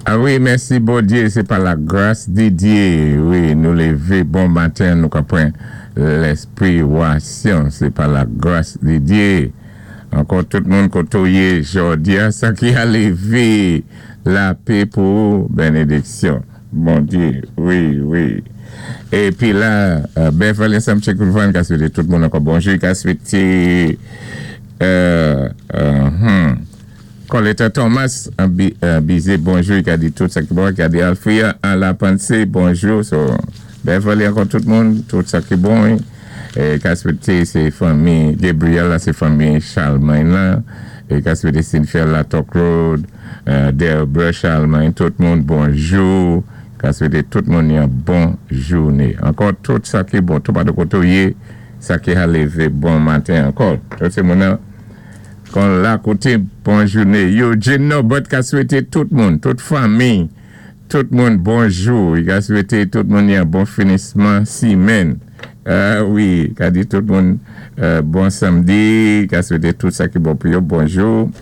Ah wi, mèsi Bondyé, sé pa la gras di Dyé, wi, nou lévé bon maten, nou ka pran lèspirasyon, sé pa la gras di Dyé. Ankò tout moun koté ou yé jòdi-a, sa ki a lévé, lapé pou ou, bènédiksyon Bondyé, wi, wi. Épi la, Beverly ansanm Chekulvan ka swété tout moun ankò bonjou, ka swété, Coletta Thomas an bize bonjou, i ka di tout sa ki bon, i ka di Alfria an la panse bonjou. So Beverly, ankò tout moun, tout sa ki bon. E ka swete se fanmi Gabriel la, se fanmi Charlemagne la. E ka swete Cynthia la Talk Road, Delbert Charlemagne, tout moun bonjou. Ka swete tout moun yon bon jouné. Ankò tout sa ki bon, tout patou koté ou yé, sa ki ha lévé bon maten ankò. Tout sé moun nan kon la koté bon jouné. Eugene Norbert ka swete tout moun, tout fanmi, tout moun bonjou. I ka swete tout moun yon bon finisman simenn. Ah wi, ka di tout moun bon samdi, ka swete tout sa ki bon pou yo bonjou.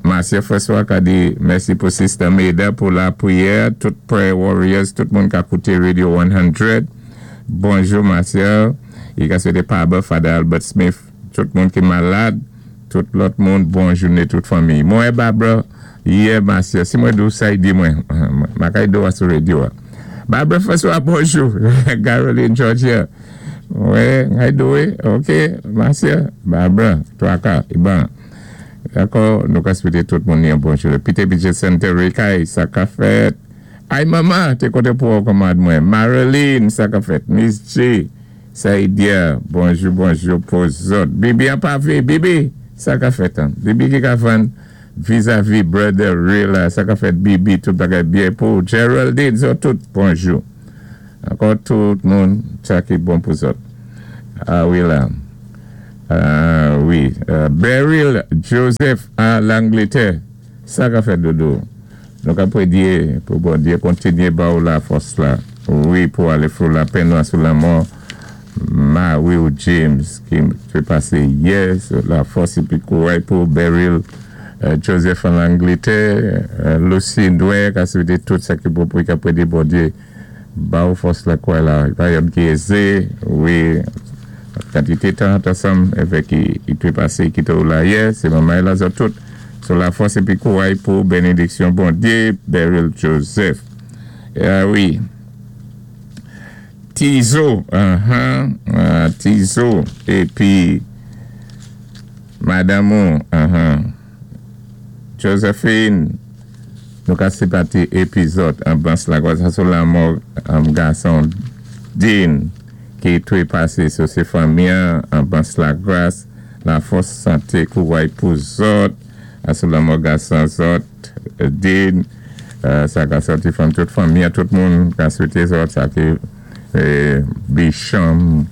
Marcia François ka di mèsi pou Sister Meda pou lapriyè, tout prayer warriors, tout moun ka kouté Radio 100. Bonjou Marcia. I ka swete Paba, Father Albert Smith, tout moun ki malad, tout lòt moun bon jouné, tout fanmi. Mwen Barbara yè Marcia, si mwen di ou sa, di mwen. Ma kay do a sou radio a. Barbara François, bonjou. Caroline Georgia. Wè, how you doing? Ok, Marcia, Barbara, Twaka, Iban. Dakò, nou ka swete tout moun yon bon jouné. Peter Budget Center, Rekay, sa ka fèt. Ay mama, té koté pou ou kòmand mwen. Marilyn, sa ka fèt. Miss J, Saïdia, bonjou, bonjou pou zòt. Bibi an pavé, Bibi, sa ka fèt an. Bibi ki ka vann vizavi Brother Ray la, sa ka fèt Bibi, tout bagay byen pou Geraldine, zòt tout, bonjou. Ankò tout moun, sa ki bon pou zòt. Ah wi la. Ah wi. Beryl Joseph a Langletè, sa ka fèt dodo? Nou ka prédyé pou Bondyé kontinyé ba ou la fòs la, wi, pou alé fou lapenn ou sou lanmò mari ou James ki té pasé yè. La fòs épi kouray pou Beryl Joseph an Langletè. Lucie Ndouin ka swété tout sa ki bon pou ka prédyé Bondyé ba ou fòs la, kouray la, pa janm ki ézé, wi, kantité tan ansanm avèk i té pasé kité ou la yè, sé manman la zòt tout. Sou la fòs épi kouray pou bènédiksyon Bondyé, Beryl Joseph. Ah wi. Tizo, ahan, Tizo épi madanm ou, ahan, Josephine, nou ka sipati épi zòt an bans la sa sou lanmò gason Dean ki twé pasé sou sé fanmi an an bans la gras. La fòs, santé, kouray pou zòt, sou lanmò gason zòt, Dean, sa ka sòti fanm tout fanmi an, tout moun ka swete zòt sa ki Bicham,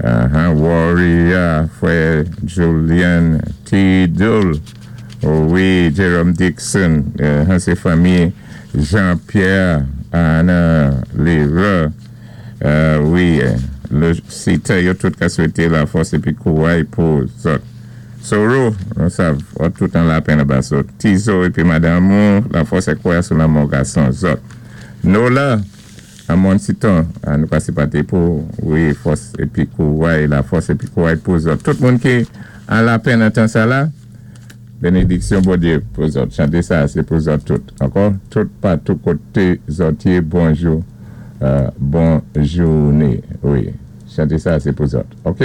Warrior, frè Julian Tidul, wi, Jerome Dixon, se fanmi Jean Pierre, Anna Leroy. Wi, sitè yo tout ka swete la fòs épi kouray pou zòt. Soro, nou sav, ou tout an lapenn anba so. Tizo épi madanm ou, la fòs ak kouray sou lanmò gason zòt. Nola, an Monsiton, nou ka sipate pou, wi, fòs épi kouray, la fòs épi kouray pou zòt. Tout moun ki an lapenn an tan sa la. Benediksyon Bondye pou zòt. Chante sa se pou zòt tout. Ankò, tout patou kote zòt ye, bonjou, bon joune. Wi, chante sa se pou zòt. Ok?